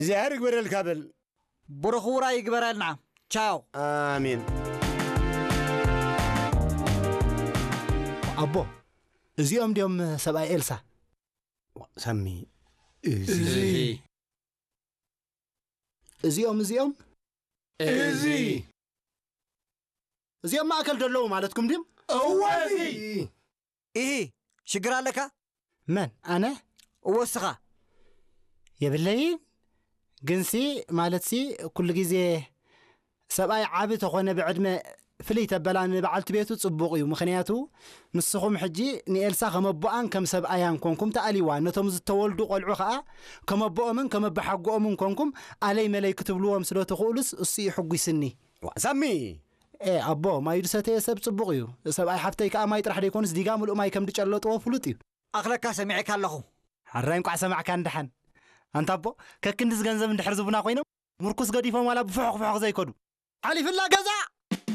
እግዚኣብሔር ይግበረልካ በል። ብሩኽ ውራይ ይግበረልና። ቻው። ኣሜን። ኣቦ፣ እዚኦም ድዮም ሰብኣይ ኤልሳ? ሳሚ፣ እዚ እዚኦም እዚኦም እዚ እዚኦም ማእከል ዘለዉ ማለትኩም ድዮም? እወ እዚ ኢሂ፣ ሽግር ኣለካ? መን ኣነ? እወስኻ። የብለይን። ግንሲ ማለትሲ ኩሉ ግዜ ሰብኣይ ዓቢ ተኾነ ብዕድመ ፍልይ ተበላ ንበዓልቲ ቤቱ ጽቡቕ እዩ። ምኽንያቱ ንስኹም ሕጂ ንኤልሳ ከም ኣቦኣን ከም ሰብኣያን ኮንኩም ተኣልይዋ። ነቶም ዝተወልዱ ቆልዑ ኸኣ ከም ኣቦኦምን ከም ኣቦሓጎኦምን ኮንኩም ኣለይ መለይ ክትብልዎም ስለ ትኽእሉስ እሱ እዩ ሕጒስኒ። ሳሚ ኤ ኣቦ፣ ማይ ዝሰተየ ሰብ ጽቡቕ እዩ። ሰብኣይ ሓፍተይ ከኣ ማይ ጥራሕ ደይኮኑስ ዲጋ ምሉእ ማይ ከም ዝጨለጥዎ ፍሉጥ እዩ። ኣኽለካ ሰሚዐካ ኣለኹ። ሓራይ እንቋዕ ሰማዕካ እንድሓን። ኣንታ ኣቦ፣ ከክንድዚ ገንዘብ እንድሕር ዝቡና ኮይኖም፣ ምርኩስ ገዲፎም ዋላ ብፍሑኽ ፍሑኽ ዘይከዱ። ሓሊፍላ ገዛ!